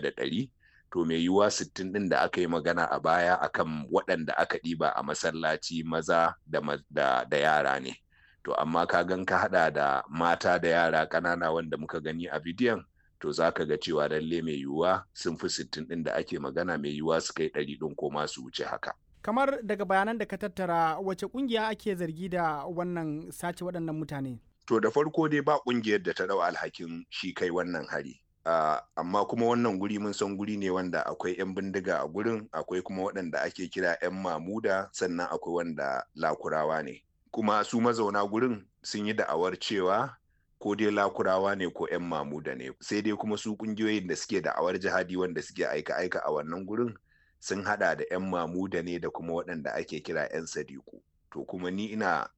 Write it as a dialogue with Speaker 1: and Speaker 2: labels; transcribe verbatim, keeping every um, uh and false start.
Speaker 1: da ɗari. To mai yiwuwa sittin ɗin da aka yi magana a baya akan waɗanda aka ɗiba a masallaci maza da, da, da yara ne. To amma ka gan ka haɗa da mata da yara ƙanana wanda muka gani a bidiyon, to za ka ga cewa lalle mai yiwuwa sun fi sittin ɗin da ake magana, mai yiwuwa su kai ɗari ɗin ko ma su wuce haka.
Speaker 2: Kamar daga bayanan da ka tattara, wace kungiya ake zargi da wannan sace waɗannan mutane?
Speaker 1: To da farko dai ba kungiyar da ta ɗau alhakin shi kai wannan hari. Uh, amma kuma wannan guri mun san guri ne wanda akwai 'yan bindiga a gurin, akwai kuma waɗanda ake kira 'yan mamuda, sannan akwai wanda lakurawa ne. Kuma su mazauna gurin sun yi da'awar cewa ko dai lakurawa ne ko 'yan mamuda ne. Sai dai kuma su kungiyoyin da suke da'awar jihadi wanda suke aika-aika a wannan gurin sun hada da 'yan mamuda ne da kuma waɗanda ake kira 'yan sadiku. To kuma ni ina